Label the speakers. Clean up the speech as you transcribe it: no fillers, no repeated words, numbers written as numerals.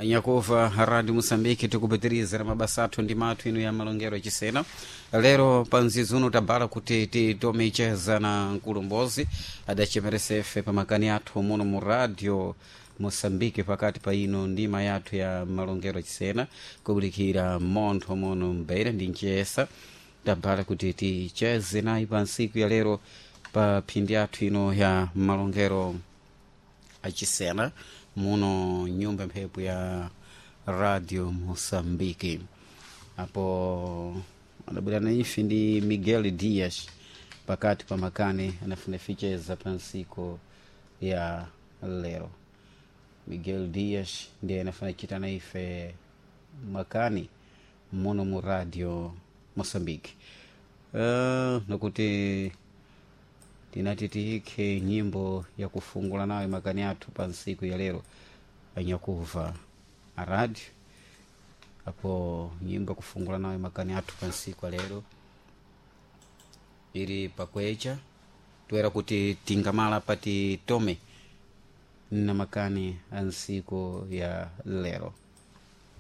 Speaker 1: Nyakuva Radio Moçambique, tikupitirizira mabasa athu ndi mathu inu ya malongero achisena. Lero pa mzizi uno tabala kuti titomicheza na mkulumbozi adachemeresefe pa makani athu muno mu Radio Moçambique pakati pa ino ndima yathu ya malongero achisena kubulikira montho muno mbeira ndi nchesa. Tabala kuti ticheze nayi pa ntsiku ya lero pa phindi yathu ino ya malongero achisena muno nyumba mphepo ya Radio Moçambique. Apo adabwera na ife ndi Miguel Dias pakati pa makani anafuna ficheza pa ntsiku ya lero. Miguel Dias ndiye anafuna chita na ife makani muno mu Radio Moçambique. Nakuti tinati tiyikhe nyimbo ya kufungula nayo makani athu pa ntsiku ya lero anyakuva a radio. Apo nyimbo ya kufungula nayo makani athu pa ntsiku ya lero ili pakwecha toera kuti tingamala pati tome na makani a ntsiku ya lero.